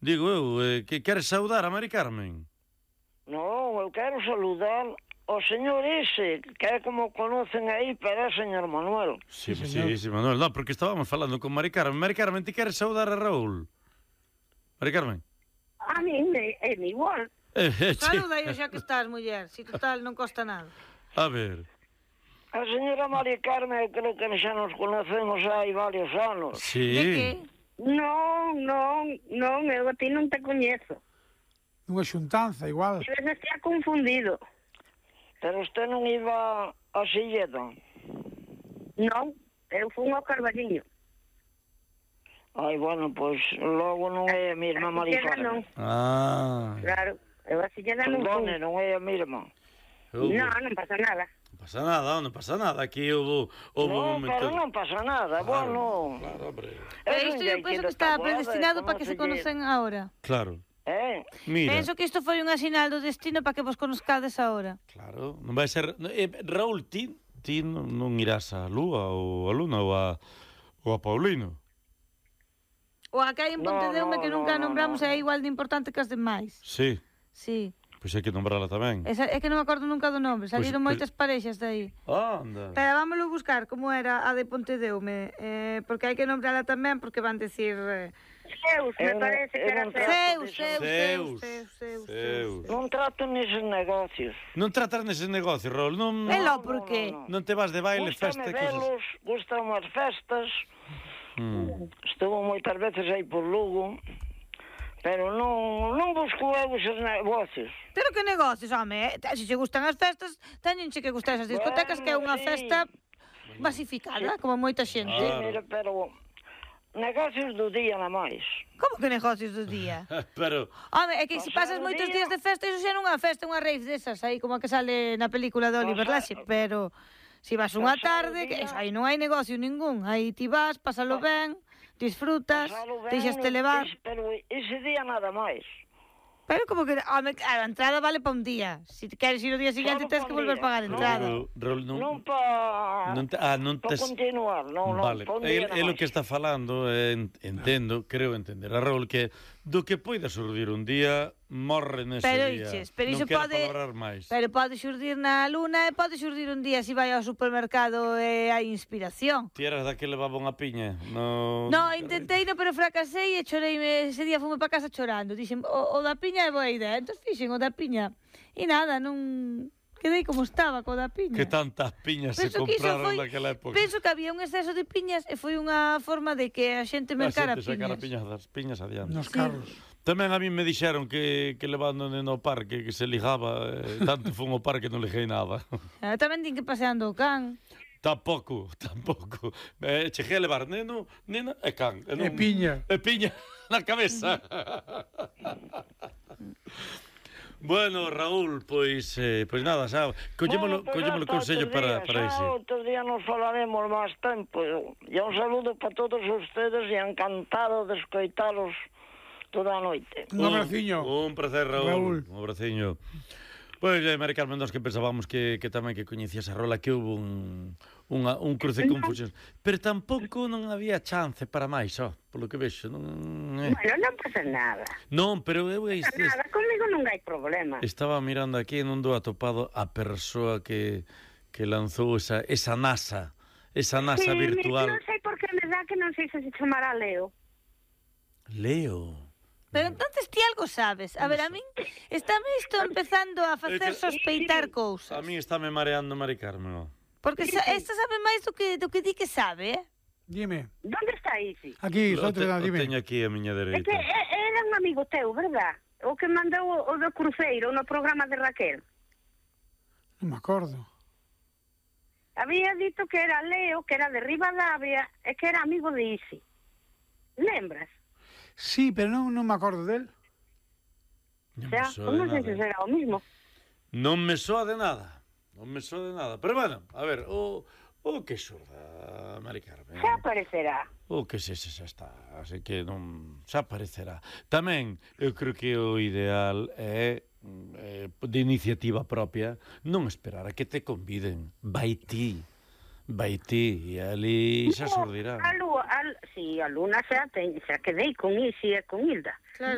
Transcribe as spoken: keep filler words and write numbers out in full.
Digo eu, eh, que queres saudar a Mari Carmen? Non, eu quero saludar o señor ese, que é como conocen aí, pero é señor Manuel. Sí, sí, sí, sí, Manuel, no, porque estábamos falando con Mari Carmen. Mari Carmen, ti queres saudar a Raúl? Mari Carmen? A mí me, é igual. Eh, eh, che- Saluda yo xa que estás, muller. Si total non costa nada. A ver... A señora Mari Carmen, eu creo que xa nos conocemos hai varios anos. Sí. De que? Non, non, non, eu a ti non te coñezo. Unha xuntanza, igual. Debes estar confundido. Pero usted non iba a Silleda. Non, eu fui ao Carballiño. Ai, bueno, pois logo non é a mesma Mari Silleda non, Carmen. Ah... claro. Eu a Silleda non Perdone, fui. non é a mesma. Hubo- Non, non pasa nada. Non pasa nada, non pasa nada. Aquí houve, houve un Non, momento... pero non pasa nada, bueno. Claro, hombre. Pero É un isto eu xeito penso de que está tabuada, predestinado para que se conócelle. conocen ahora. Claro. Eh? Mira, Penso que isto foi unha sinal do destino para que vos conozcades ahora. claro, non vai ser... Eh, Raúl, ti, ti non, non irás a Lúa ou a Luna ou a, ou a Paulino. O a que hai en No, Pontedeume no, que no, nunca no, nombramos no. é igual de importante que as demais. Sí, Sí. pois hai que nombrala tamén. Esa, é que non me acordo nunca do nome. Salieron Pois- moitas parexas de aí. Anda. Pero vámoslo buscar como era a de Pontedeume. Eh, porque hai que nombrala tamén porque van decir... Eh, Zeus, me Eu non- parece que eu era non Zeus. Zeus, diso. Zeus, Zeus, Zeus, Zeus, Zeus, Zeus. Zeus. Non trato neses negocios. Non tratas neses negocios, Raúl. Non, É lo No, por no, qué? no, no. non te vas de baile, Gústame festa e cosas. velos, gustan as festas. Mm. Estuvo moitas veces aí por Lugo. Pero non, non busco eu eses negocios. Pero que negocios, home, eh? Se che gustan as festas, teñenche que gustar esas discotecas, que é unha Bueno, sí. festa masificada, como moita xente. Sí, Claro. mira, pero negocios do día na máis. Como que negocios do día? Pero, Home, é que se pasas Pasado moitos día- días de festa, iso xa non é unha festa, é unha rave desas, aí como a que sale na película de Oliver Pasado- Laxe, pero se vas unha Pasado tarde, que día- eso, aí non hai negocio ningún, aí ti vas, pásalo ben, disfrutas, Pasalo ben, deixaste levar, es- Pero ese día nada máis. pero como que, home, a entrada vale pa un día, se te queres ir o día seguinte Solo tens pa que un volver a día. pagar a No, entrada. Raúl, Raúl, non... Non pa... Non te, ah, non pa tes... continuar, non, non, Vale, pa un é, día é nada o que máis. está falando, eh, en- entendo, creo entender a Raúl, que do que poida surdir un día, morre nese Pero día. dices, pero non iso quero pode, palabrar máis. pero pode xurdir na luna e pode xurdir un día se vai ao supermercado e hai inspiración. Ti eras da que levaba unha piña? No, No, intentei, no, pero fracasei e chorei, ese día fume para casa chorando. Dixen, o, o da piña é boa idea, entón fixen o da piña. E nada, non... Quedei como estaba co da piña. Que tantas piñas se Penso que iso compraron foi- naquela época. Penso que había un exceso de piñas e foi unha forma de que a xente mercara A xente sacara piñas. piñas das piñas adiante. Nos Sí. carros. Tamén a mí me dixeron que, que levando no parque, que se ligaba, eh, tanto fun ao parque non liguei nada. Ah, tamén din que paseando o can. Tampouco, tampouco. Eh, cheguei a levar neno, nena e can. E, E piña. E piña na cabeza. Bueno, Raúl, pois eh, pois nada, xa, collémolo, Bueno, pues collémolo hasta consello outro para, día, para xa ese. outro día nos falaremos máis tempo. E un saludo para todos ustedes e encantado de escoitalos toda a noite. Un abraciño. Un, un placer, Raúl. Raúl. Un abraciño. Pois, eh, Mari Carmen, nós que pensábamos que, que tamén que coñecías a rola, que houve un, unha, un cruce de confusións. Pero tampouco non había chance para máis, ó, polo que vexo. Non, eh. Bueno, non pasa nada. non pero eu Non este, pasa nada, comigo non hai problema. estaba mirando aquí e non dou atopado a persoa que, que lanzou esa, esa NASA, esa NASA Sí, virtual. Non sei por que me dá que non sei se se chamará Leo. Leo. Pero entonces ti algo sabes. A ver, a min estáme isto empezando a facer que- sospeitar cousas. A mí estáme mareando Mari Carmen, ó. Porque sa esta sabe máis do que do que di que sabe, eh? Dime. Donde está Isi? Aquí, O outro te- lado, o dime. teño aquí a miña É dereita. que é- era un amigo teu, verdad? O que mandou o, o do cruceiro no programa de Raquel. Non me acordo. Había dito que era Leo, que era de Ribadavia e que era amigo de Isi. Lembras? Sí, pero non, non me acordo del. Non O me sea, soa de non sei se nada. será o mismo. Non me soa de nada. Non me soa de nada. Pero bueno, a ver, o, o que xurda, Mari Carmen. Xa aparecerá. O que se, se xa está, así que non xa aparecerá. Tamén, eu creo que o ideal é eh, de iniciativa propia non esperar a que te conviden. Vai ti. Vai ti, e ali xa surdirá. A lúa, a, sí, a luna xa, ten, xa quedei con Isi e con Hilda. Claro.